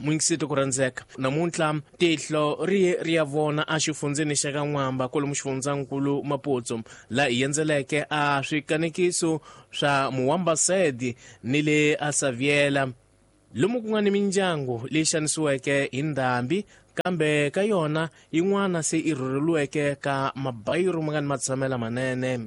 Muyingiseti ku rhandzeka, namuntlha tihlo ri ye ri ya vona exifundzeni xa ka N'wamba kwalomu xifundzankulu Maputsu, laha hi endzeleke a swikanekiso swa Muwambasedi ni le a Saviela, lomu ku nga ni mindyangu leyi xanisiweke hi ndhambi, kambe ka yona yin'wana se i rhurheliweke ka mabayiro ma nga ni matshamela manene.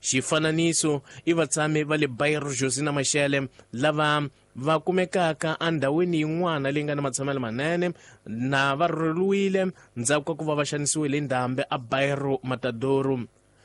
Xifananiso i vatshami va le Bairro Josina Machel lava va kumekaka endhawini yin'wana leyi nga ni matshamelo manene na va rhurheliwile ndzhaku ka ku va va xanisiwile hi ndhambi a Bairro Matadouro,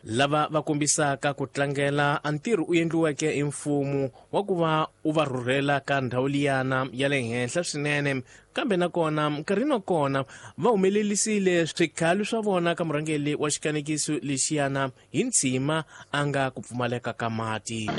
lava va kombisaka ku tlangela a ntirho u endliweke hi mfumo wa ku va u va rhurhela ka ndhawu liyana ya le henhla swinene, kambe nakona nkarhini wa kona va humelelisile swikhalo swa vona ka murhangeri wa xikanekiso lexiyana hi ntshima a nga ku pfumaleka ka mati.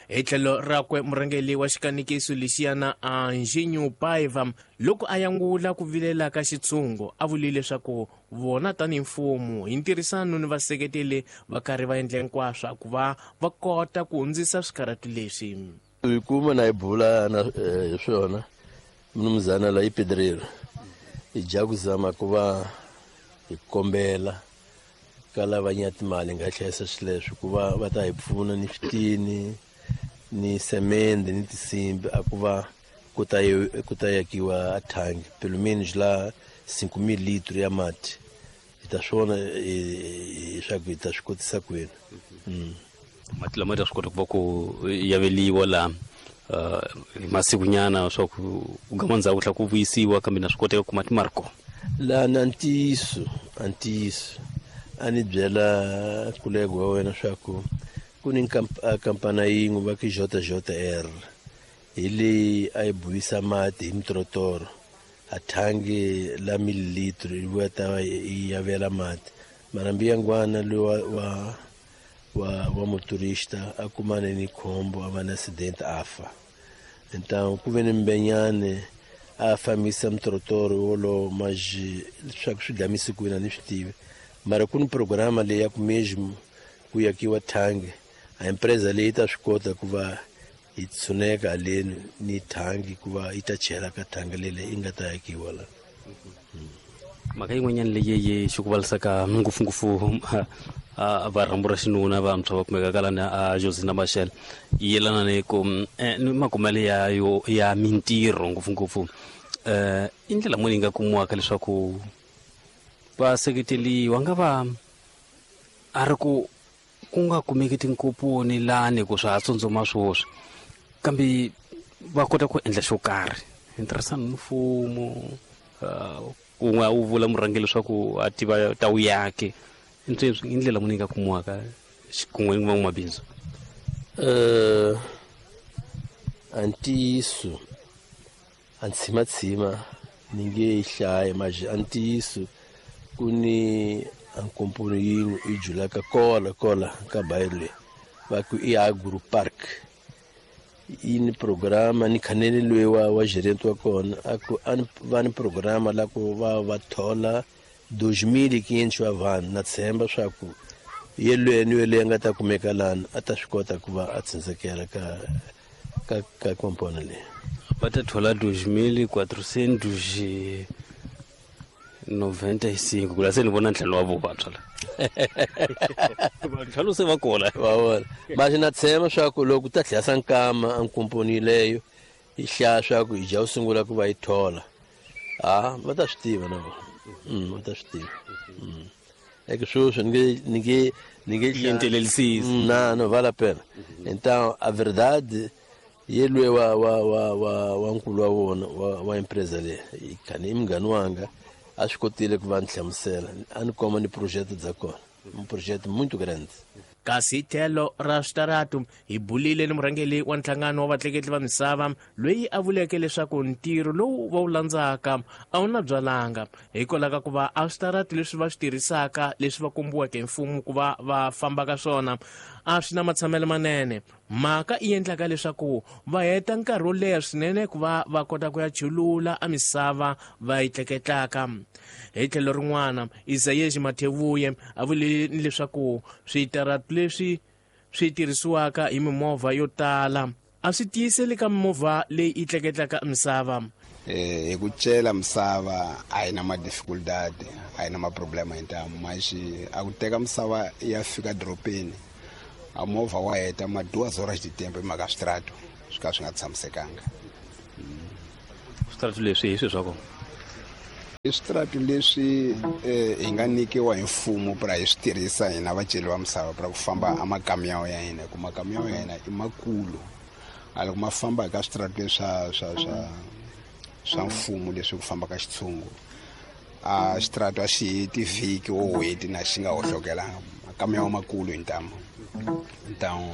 Hi tlhelo rakwe murhangeri wa xikanekiso lexiyana Anjinho Paiva loko a yangula ku vilela ka xitshungu a vulile leswaku vona tanihi mfumo hi ntirhisano ni vaseketeli va karhi va endla hinkwaswo ku va va kota ku hundzisa swikarhati leswi. Hi kuma na hi bula na hi swona mnumzana la i pedreiro hi dya ku zama ku va hi kombela ka lava nya timali nga hlayisa swileswo ku va va ta hi pfuna ni switini ni semende ni tinsimbi a ku va ku ta ku ta yakiwa a thangi pelo menos la 5000 litro ya mati hi ta swona leswaku hi ta swi kotisa kwini. Mati lama ta swi kota ku va ku yaveliwa laha hi masikunyana swa ku ku gama ndzhaku tlhela ku vuyisiwa, kambe na swi koteka ku mati ma ri kona. Laha na ntiyiso a ntiyiso a ni byela kulego wa wena swa ku ku ni kampana yin'we va ku JJR hi leyi a yi buyisa mati hi mitorotoro a thangi la mililitro yi vuya ta yi yavela mati, mara mbiyangwana loyi wa wa wa wa motorista a kumane ni khombo a va na accident a fa. Então ku ve ni mbenyane a fambisa mitorotoro wolowo mas leswaku swi dlamise kwini a ni swi tivi, mara ku ni programa leyi ya ku mesmo ku yakiwa thangi a empresa leyi ta swi kota ku va yi tshuneka haleni ni thangi ku va yi ta chela ka thangi lele yi nga ta yakiwa la. Mhaka yin'wanyana leyi yi xikuvalisaka ngopfungopfu va rhambu ra xinuna vantshwa va kumeka ka lani a Josina Machel yi yelana ni ku ni makumelo ya yo ya mintirho ngopfungopfu, i ndlela muni yi nga kumiwaka leswaku va seketeliwa nga va a ri ku ku nga kumeki tinkoponi lani ku swa ha tsundzuma swoswi, kambe va kota ku endla xo karhi hi ntirhisano ni mfumo, kun'we a wu vula murhangeri leswaku a tiva ta wu yake i ndlela muni yi nga kumiwaka xikun'we ni van'wamabindzu? A ntiyiso a ntshimatshima ni nge yi hlayi, mas a ntiyiso ku ni a nkomponi yin'we yi julaka kola kola ka bayiro leyi va ku i Agro Park, yi ni programa ni khanele loyi wa wa gerente wa kona a ku a va ni programa la ku va va thola 2500 wa vanhu, na tshemba swa ku yelweni ni yeleyo a nga ta kumeka lani a ta swi kota ku va a tshundzekela ka ka ka komponi leyi. Va ta thola 2495 ku la se ni vona ntlhanu wa vo vantshwa la ntlhanu se va kona va vona, mas na tshemba swa ku loko ta tlhela nkama a nkomponi leyo yi hlaya swa ku hi dya ku sungula ku va yi thola, a va ta swi tiva na vona, va ta swi tiva. Eke sweswi ni nge ni nge ni nge Yentelelisisi. Na no vale a pena. Então a verdade yelwe wa wa wa wa wa nkulu wa vona wa wa empresa leyi khani i munghani wanga a swi kotile ku va ni hlamusela a ni komba ni project bya kona, un projeto muito grande. Kasi hi tlhelo ra switaratu hi bulile ni murhangeri wa nhlangano wa vatleketli va misava loyi a vuleke leswaku ntirho lowu va wu landzaka a wu na byalanga hikwalaho ka ku va a switaratu leswi va swi tirhisaka leswi va kombiweke hi mfumo ku va va famba ka swona a swi na matshamelo manene, mhaka yi endlaka leswaku va heta nkarhi wo leha swinene ku va va kota ku ya chulula a misava va yi tleketlaka. Hi tlhelo rin'wana Isayeshi Mathevuye a vule ni leswaku switaratu leswi swi tirhisiwaka hi mimovha yo tala a swi tiyiseli ka mimovha leyi yi tleketlaka misava. Hi ku cela misava a yi na ma-difficultad, a yi na ma-problema hi ntamu, maxi a ku teka misava ya fika doropeni a movha wa heta ma duas horas de tempo hi mhaka switrato swi ka swi nga tshamisekanga. Switrato leswi hi swi swa kona i switrato leswi hi nga nyikiwa hi mfumo pra hi swi tirhisa hina vaceli va misava pra ku famba a makamiyawo ya hina, hi ku makamiyawo ya hina i makulu. A loko ma famba hi ka switrato leswi swa mfumo leswi ku famba ka xitshungu, a xitrato a xi heti vhiki wo hweti na xi nga hohlokelanga, makamiyawo makulu hi ntamu. Ntamu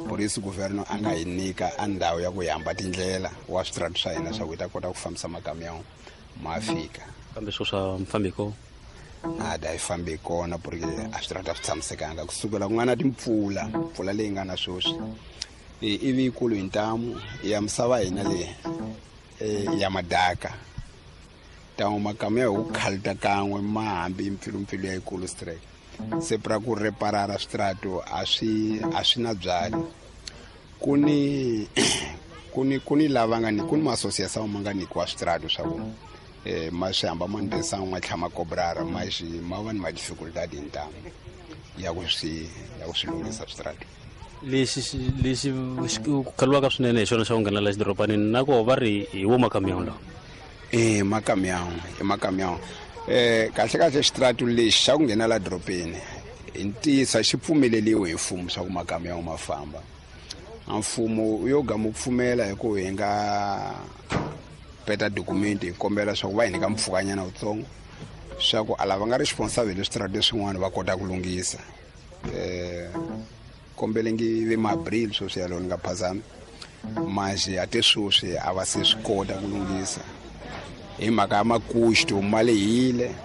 por isso governo a nga hi nyika a ndhawu ya ku hi hamba tindlela wa switrato swa hina swa ku hi ta kota ku fambisa makamiyawo ma fika. Kambe swo swa mfambi kona? Nada, yi fambi kona porque a switrato a swi tshamisekanga. Kusukela ku nga na timpfula, mpfula leyi nga na sweswi ivi yikulu hi ntamu ya misava hina leyi ya madaka, ntamu makamiya hi ku khalita kan'we ma hambi mpfilumpfilu ya yikulu strike. Se pra ku reparara switrato a swi na byali. Ku ni lava nga ni ku ni ma-association ma nga nyikiwa switrato swa ku ma swi hamba ma ndhisa ma tlhela ma kobrara, ma xi ma va ni ma-difficultad hi ntamu ya ku swi lunghisa switrato. Lexi ku khaliwaka swinene hi xona xa ku nghenela xidorobanini, na koho va ri hi wo makamiyawo lawa? Makamiyawo, i makamiyawo. Kahle kahle xitrato lexi xa ku nghena la doropeni hi ntiyiso xi pfumeleliwe hi mfumo swa ku makamiyawo ma famba. A mfumo yo gama ku pfumela hi ku hi nga peta document hi kombela swa ku va hi nyika mpfhukanyana wutsongo swa ku a lava nga responsible switrato leswin'wana va kota ku lunghisa. Kombelengi ve ma-abril sweswi yalowo ni nga phazami, manje a te sweswi a va se swi kota ku lunghisa hi mhaka ya makuxto ma lehile.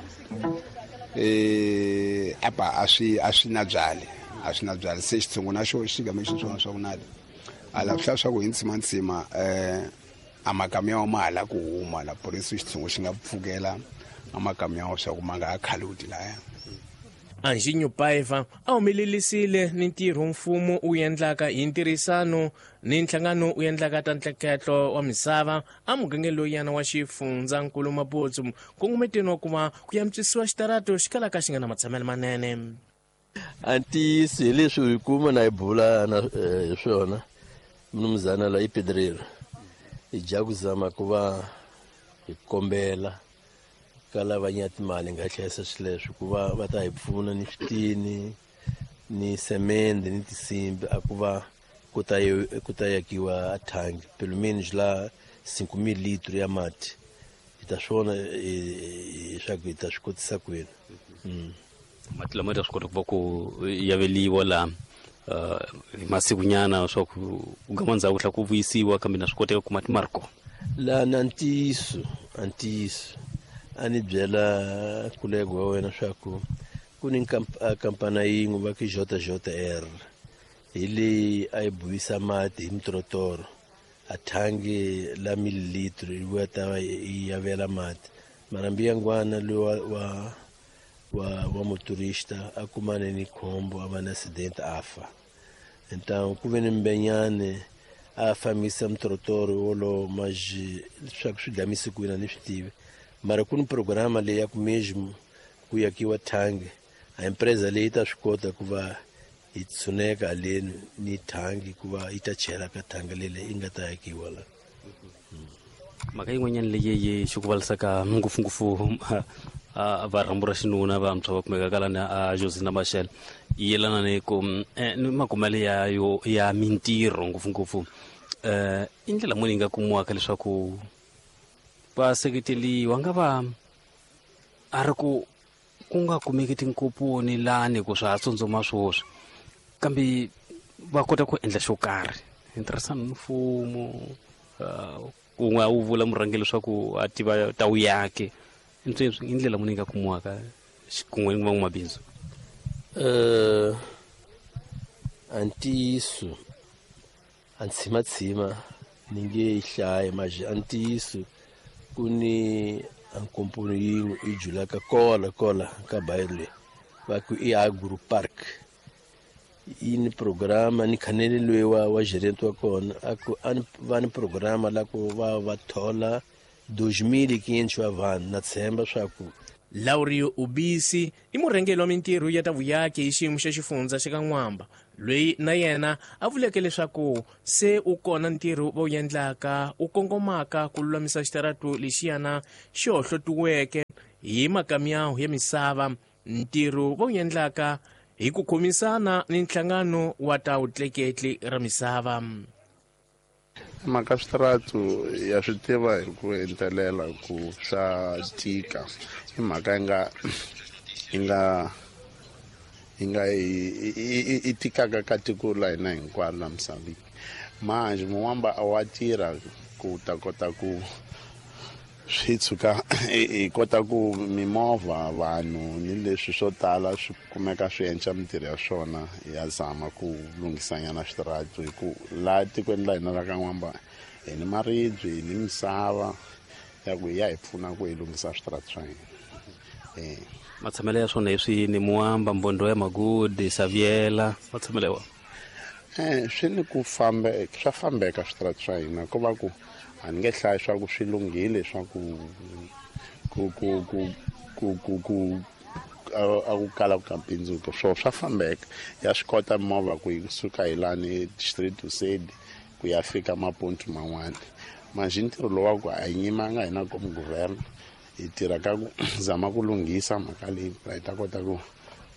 Apa a swi na byali, a swi na byali. Se xitshungu na xo xi game xitsongo swa ku nada a lava swi swa ku hi ntsimantsima a makamiyawo ma hala ku huma la, por isso xitshungu xi nga pfukela a makamiyawo swa ku ma nga ha khaluti laya. Anjinho Paiva a humelelisile ni ntirho mfumo wu endlaka hi ntirhisano ni nhlangano wu endlaka ta ntleketlo wa misava a mugangeni loyana wa xifundzankulu Maputo, nkongometeni wa ku va ku antswisiwa xitarato xi kalaka xi nga na matshamelo manene. A ntiyiso hi leswi hi kuma na hi bula na hi swona mnumzana la i pedreiro, hi dya ku zama ku va hi kombela ka lava nya timali nga hlayisa swileswi ku va va ta hi pfuna ni switini ni semende ni tinsimbi a ku va ku ta yakiwa a thangi pelo menos la 5,000 litro ya mati. Hi ta swona leswaku hi ta swi kotisa kwini. Mati lama ta swi kota ku va ku yaveliwa la hi masikunyana swa ku gama ndzhaku tlhela ku vuyisiwa, kambe na swi koteka ku mati ma ri kona la. Na ntiyiso a ni byela kulego wa wena swa ku ku ni kampana yin'we va ku JJR hi leyi a yi buyisa mati hi mitorotoro a thangi la mililitro yi vuya ta va yi yavela mati. Mara mbiyangwana loyi wa motorista a kumane ni khombo a va na accident a fa. Então ku ve ni mbenyane a fambisa mitorotoro wolowo maji leswaku swi dlamise kwini a ni swi tivi, mara ku ni programa leyi ya ku mesmo ku yakiwa thangi a empresa leyi ta swi kota ku va yi tshuneka haleni ni thangi ku va yi ta chela ka thangi leyi yi nga ta yakiwa la. Mhaka yin'wanyana leyi yi xikuvalisaka ngopfungopfu va rhambu ra xinuna vantshwa va kumeka kalani a Josina Machel yi yelana ni ku ni makumelo ya yo ya mintirho ngopfungopfu. I ndlela muni yi nga kumiwaka leswaku va seketeliwa nga va a ri ku ku nga kumeki tinkoponi lani ku swa ha tsundzuma swoswi, kambe va kota ku endla xo karhi hi ntirhisano ni mfumo. Un'we a wu vula murhangeri leswaku a tiva ta wu yake i ndlela muni yi nga kumiwaka xikun'we ni van'wamabindzu? A ntiyiso a ntshimatshima ni nge yi hlayi, maji a ntiyiso ku ni a nkomponi yin'we yi julaka kola ka bayiro leyi va ku i Agro Park. Yi ni programa ni khanele loyi wa gerente wa kona a ku a va ni programa la ku va va thola 2500 wa vanhu na tshemba swa ku. Laurio Ubisi i murhangeri wa mintirho ya ta vuyaki hi xiyimo xa xifundza xa ka N'wamba, loyi na yena a vuleke leswaku se u kona ntirho va wu endlaka wu kongomaka ku lulamisa xitaratu lexiyana xi hohlotiweke hi makamyawu ya misava, ntirho va wu endlaka hi ku khomisana ni nhlangano wa ta vutleketli ra misava. Mhaka switaratu ya swi tiva hi ku entelela ku swa tika, i mhaka yi nga i tikaka ka tiko la hina hinkwaro la misaveni. Manjhe Muwamba a wa tirha ku ta kota ku swi tshuka hi kota ku mimovha, vanhu ni leswi swo tala swi kumeka swi endla mintirho ya swona, ya zama ku lunghisanyana switaratu, hi ku laha tikweni la hina ra ka N'wamba hi ni maribye, hi ni misava ya ku ya hi pfuna ku hi lunghisa switaratu swa hina. Matshamelo ya swona hi swini? Muwamba, Mbondo ya Magudi, Saviela, matshamelo ya wona? Swi ni ku fambeka, swa fambeka switaratu swa hina, ko va ku a ni nge hlayi swa ku swi lunghile swa ku ku ku ku ku ku ku a ku kala ku ka mpindzuko, swo swa fambeka. Ya swi kota movha ku yi suka hi lani Street to Sedi ku ya fika mapontu man'wana. Manjhe ntirho lowu wa ku a hi nyimanga hina komu guvernor, hi tirha ka ku zama ku lunghisa mhaka leyi, hi ta kota ku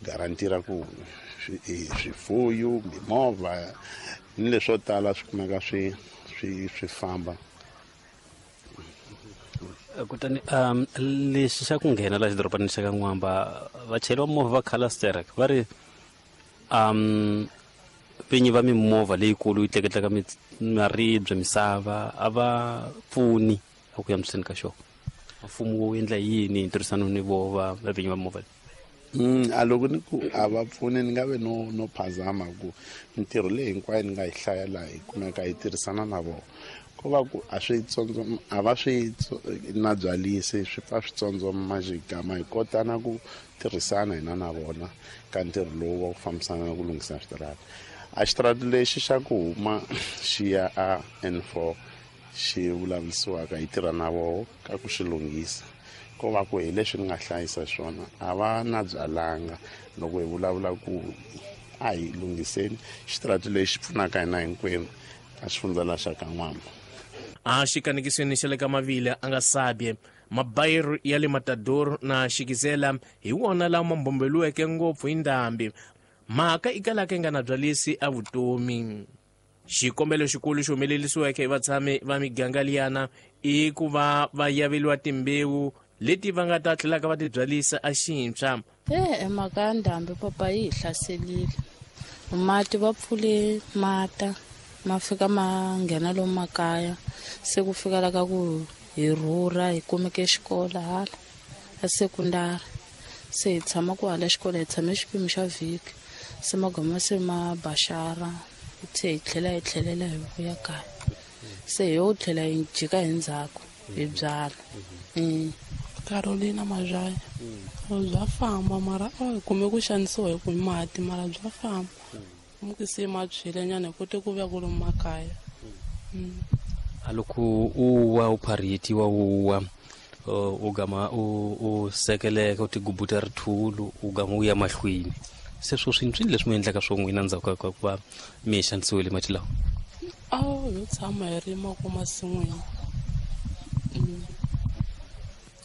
garantira ku swifuyo, mimovha ni leswo tala swi kumeka swi famba. Kutani lexi xa ku nghena la xidorobanini xa ka N'wamba, vachayeri va movha va Khalasterek va ri vinyi va mimovha leyikulu yi tleketlaka maribye, misava, a va pfuni a ku yamiseni ka xona. Mfumo wu endla yini hi ntirhisano ni vo va vinyi va movha leyi? A loko ni ku a va pfuni, ni nga ve no phazama ku mintirho leyi hinkwayo ni nga yi hlaya laha hi kumeka hi tirhisana na vona. Ko va ku a swi tsondzo, a va swi na byalisi, swi pfa swi tsondzoma xigama, hi kota na ku tirhisana hina na vona ka ntirho lowu wa ku fambisana na ku lunghisa switarata. A xitarata lexi xa ku huma xi ya a N4 xi vulavurisiwaka, hi tirha na voho ka ku xi lunghisa. Ko va ku hi leswi ni nga hlayisa swona, a va na byalanga loko hi vulavula ku a hi lunghiseni xitarata lexi pfunaka hina hinkwenu ka xifundza la xa ka N'wamba. A xikanekisweni xa le ka Mavile a nga sabye, mabayiro ya le Matador na Xikizela hi wona lama mbombeliweke ngopfu hi ndhambi. Mhaka i kalaka yi nga na byalisi a vutomi. Xikombelo xikulu xi humelerisiweke hi vatshami va miganga liyana i ku va va yaveliwa timbewu leti va nga ta tlhelaka va ti byalisa a xintshwa. Mhaka ya ndhambi papa yi hi hlaselile. Mati va pfule mata ma fika ma nghena lomu makaya, se ku fika la ka ku hi rhurha hi kumeke xikolo hala a sekundari, se hi tshama ku hala xikolo, hi tshame xipimo xa vhiki, se magama se ma baxara, se hi tlhela hi tlhelela hi vuya kaya, se hi yo tlhela hi jika hi ndzhaku hi byala. Carolina Mazhaya. Bya famba mara a hi kume ku xanisiwa hi ku mati, mara bya famba. Mukisi ma tshwile nyana hi kote ku vuya kwalomu makaya. A loko u wa u pharhetiwa u wa u gama u sekeleka u tigubuta rithulu u gama u ya mahlweni, se swo swi ntswini leswi mi endlaka swo n'wina ndzhaku ka ku va mi xanisiwile mati lawa? A ho tshama hi rima ko masin'wini.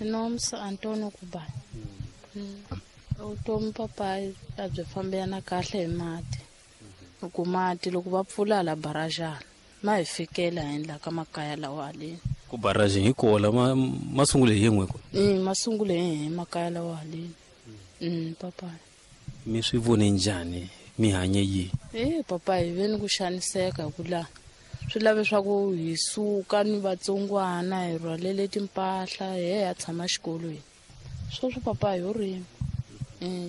Nomsa Antonio Kubani. Vutomi papa a byi fambelana kahle hi mati. Ku mati loko va pfula la barajana ma hi fikela hi endla ka makaya lawa haleni. Ku barajeni hi kola ma sungule hi yin'we ko? Ma sungule hi makaya lawa haleni. Papa. Mi swi vone njhani? Mi hanye yini? Papa hi ve ni ku xaniseka hi ku laha swi lave swa ku hi suka ni vatsongwana hi rhwalele timpahla hi ya tshama xikolweni. Sweswo papa hi yo rima.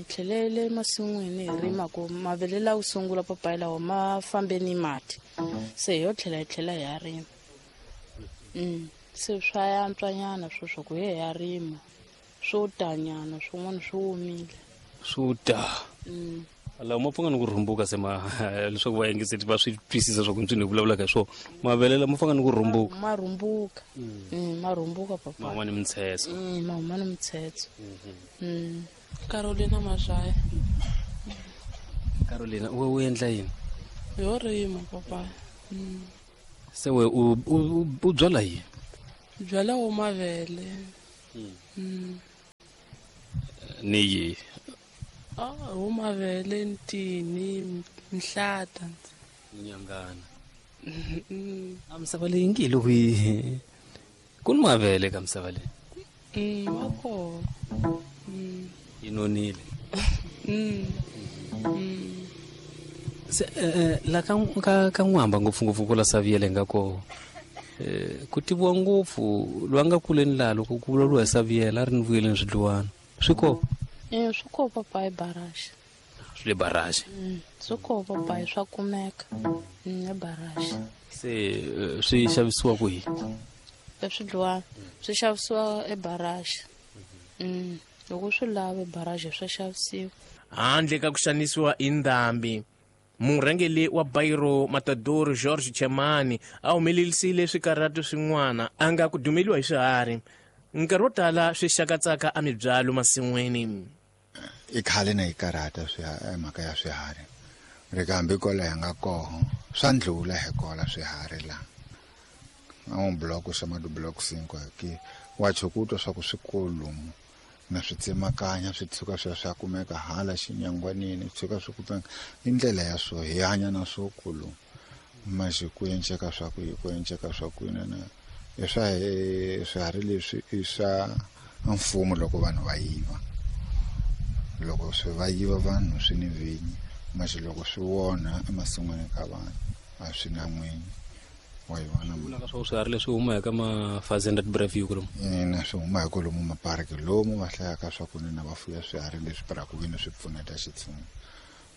Tlhelele masin'wini hi rima ku mavele lawa ku sungula papa lawa ma fambe ni mati, se hi yo tlhela hi tlhela hi ya rima. Se swa yantswanyana sweswo ku hi ya rima, swo tanyana swin'wana swi omile. Swo ta. Lawa ma pfanga ni ku rhumbuka se ma leswaku va yingiseti va swi twisisa swa ku ntswini hi vulavulaka hi swona. Mavele lama fanga ni ku rhumbuka. Ma rhumbuka. Ma rhumbuka papa. Ma huma ni mitshetso. Ma huma ni mitshetso. Carolina Mazhaya. Carolina, u endla yini? Yo rima papa. Se we u byala yini? Byala wo mavele. Ni yi? Wo mavele, ntini, mihlata. Nyangana. A misava leyi ngi loko yi ku ni mavele ka misava leyi. Ma kona. Yi nonile. Se la ka n'wamba ngopfungopfu ku la Saviele nga koho. Ku tiviwa ngopfu loyi a nga kuleni laha loko ku vulavuriwa hi Saviele a ri ni vuyeleni swidluwana. Swi kona? Swi kona papa hi baraji. Swi le baraji? Swi kona papa, swa kumeka e baraji. Se swi xavisiwa kwihi? Swidluwana swi xavisiwa ebaraji. Loko swi lava ebaraji swa xavisiwa. Handle ka ku xanisiwa hi ndhambi, murhangeri wa Bairo Matador George Chemani a humelerisile swikarhato swin'wana a nga ku dumeliwa hi swiharhi. Nkarhi wo tala swi xakatsaka emibyalo masin'wini. I khale na yi karhata mhaka ya swiharhi. Ri kambe kwala hi nga koho swa ndlula hi kola swiharhi la. A wu block xa ma block 5 ki wa chukutwa swa ku swikulu na swi tsemakanya swi tshuka swi swa kumeka hala xinyangwanini tshuka swi kumeka i ndlela ya swo hi hanya na swo kulu manje ku enceka swa ku ku enceka swa ku na i swa swiharhi leswi i swa mfumo loko vanhu va yiva. Loko swi va yiva vanhu swi ni vinyi, manje loko swi wona emasin'wini ka vanhu a swi na n'winyi. Wa yi vona vulaka swa swiharhi leswi huma eka ma-Fazenda Breview lomu? Ina, swi huma hi kwalomu maparki lomu va hlayaka swa ku nina va fuya swiharhi leswi para ku veni swi pfuneta xitshungu.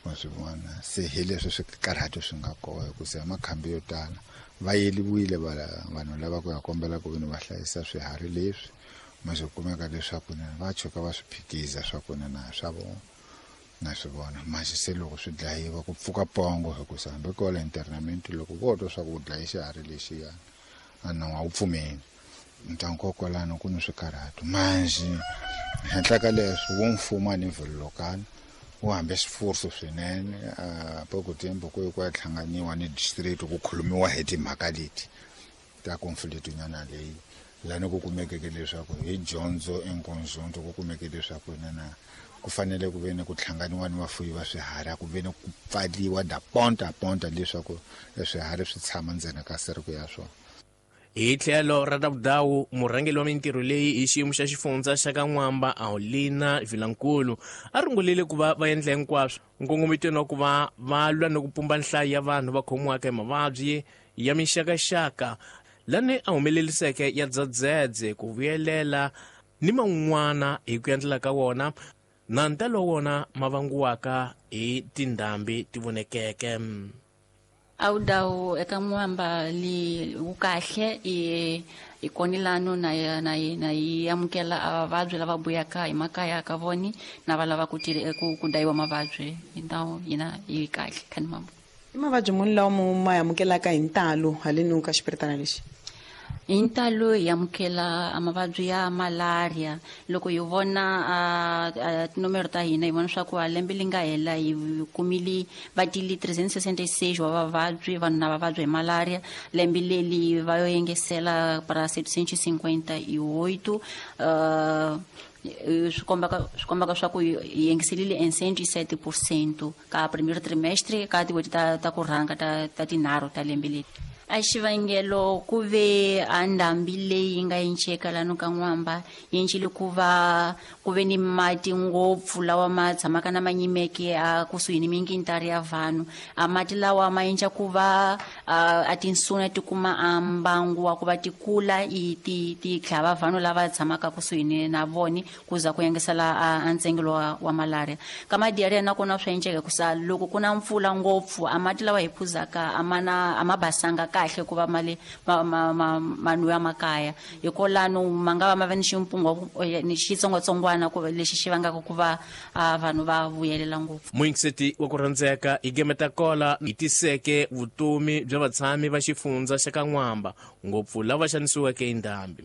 Wa swi vona se hi leswi swikarhato swi nga kona hikuva makhambi yo tala va yeliwile vanhu lava ku ya kombela ku veni va hlayisa swiharhi leswi manje kumeka leswaku va tshuka va swi phikiza swa ku na swa vona na swi vona. Manje se loko swi dlayiwa ku pfuka pongo hikuva hambi kwala internament loko vo twa swa ku dlayi xiharhi lexiya a nawu a wu pfumeli. Ntango kwalano ku ni swikarhato. Manje henhla ka leswi wo mfumo a ni local wu hambe swifuso swinene pouco tempo ku ya hlanganiwa ni district ku khulumiwa hi timhaka leti ta conflict nyana leyi lani ku kumekeke leswaku hi dyondzo enkonzonto ku kumeke leswaku na ku fanele ku ve ni ku hlanganiwa ni vafuyi va swiharhi ku ve ni ku pfaliwa da ponta ponta leswaku swiharhi swi tshama ndzeni ka seriko ya swona. Hi tlhelo ra Ravudawu, murhangeri wa mintirho leyi hi xiyimo xa xifundza xa ka N'wamba Aulina Vilankulu a rungulile ku va va endla hinkwaswo nkongometweni wa ku va va lwa ni ku pumba nhlayo ya vanhu va khomiwaka hi mavabyi ya mixakaxaka lani a humeleriseke ya dzadzedze ku vuyelela ni man'wana hi ku endlela ka wona na ntalo wa wona ma vangiwaka hi tindhambi ti vonekeke. Awudawu eka N'wamba li wu kahle i konilano na yi amukela avavabyi lava buyaka hi makaya ka voni na va lava ku ku dayiwa mavabyi hi ndhawu yina yi kahle khani mambo. I mavabyi muni lawa ma amukelaka hi ntalo haleni ka xipiritana lexi? Hi ntalo hi amukela mavabyi ya malaria. Loko hi vona tinomero ta hina hi vona swa ku a lembe li nga hela hi kumile va tili 366 wa vavabyi vanhu na vavabyi hi malaria. Lembe leli va yo yengesela para 758 swi kombaka swa ku hi yengiselile em 107% ka primeiro trimestre ka tin'hweti ta ku rhanga ta tinharhu ta lembe leri. A xivangelo ku ve a ndhambi leyi nga enceka lano ka N'wamba yi encile ku va ku ve ni mati ngopfu lawa ma tshamaka na ma nyimeke a kusuhi ni mingintari ya vanhu. A mati lawa ma enca ku va a tinsuna ti kuma a mbangu wa ku va ti kula i ti tlhava vanhu lava tshamaka kusuhi ni na voni ku za ku yengesela a ntsengelo wa malaria. Ka madiarrhea nakona swa enceka ku sa loko ku na mpfula ngopfu a mati lawa hi phuzaka a ma basanga kahle ku va mali ma ma ma ma nwiwa makaya. Hikolano ma nga va ma va ni ximpungo ni xitsongwatsongwana ku lexi xi vangaka ku va vanhu va vuyelela ngopfu. Muyingiseti wa ku rhandzeka, hi gemeta kola hi tiseke vutomi bya vatshami va xifundza xa ka N'wamba, ngopfu lava xanisiweke hi ndhambi.